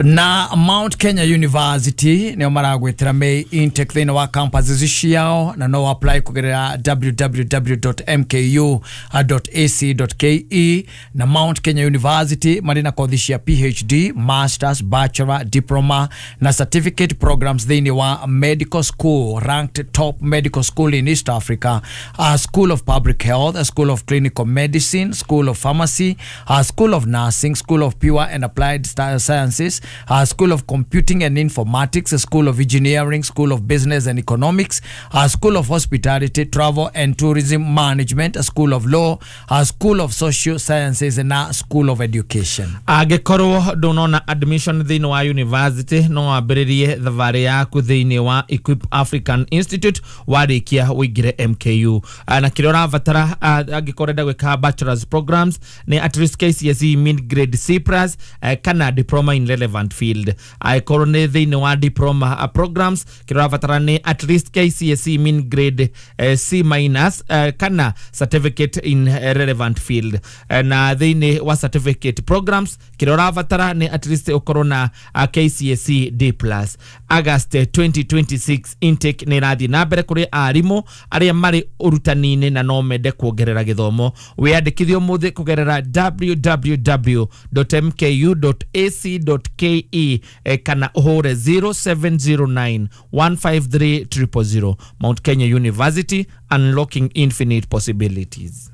Na Mount Kenya University nĩo maragwĩtĩra May intake thĩinĩ wa campuses ciao, na no apply kũgerera www.mku.ac.ke. Na Mount Kenya University marĩ na kothi cia PhD, masters, bachelor, diploma na certificate programs thĩinĩ wa medical school, ranked top medical school in East Africa, a school of public health, a school of clinical medicine, school of pharmacy, a school of nursing, school of pure and applied sciences, a school of computing and informatics, a school of engineering, school of business and economics, a school of hospitality, travel and tourism management, a school of law, a school of social sciences na school of education. Angĩkorwo ndũnona admission thĩinĩ wa university, no wambĩrĩrie thabarĩ yaku thĩinĩ wa Equip African Institute. Warĩkia ũingĩre MKU. Na kĩrĩa ũrabatara angĩkorwo ũrenda gwĩka bachelors programs nĩ at least KCSE mid grade C+ kana diploma in relevant field. Angĩkorwo nĩ thĩinĩ wa diploma programs, kĩrĩa ũrabatara nĩ at least KCSE min grade C- kana certificate in relevant field. Na thĩinĩ wa certificate programs, kĩrĩa ũrabatara nĩ at least ũkorwo na KCSE D+. August 2026 intake nĩ ĩrathiĩ na mbere kũrĩ arimũ arĩa marĩ ũrutani-inĩ na no mende kuongerera gĩthomo. Wĩyandĩkithie ũmũthĩ kũgerera www.mku.ac.ke kana ũhũre 0709 153 000. Mount Kenya University, unlocking infinite possibilities.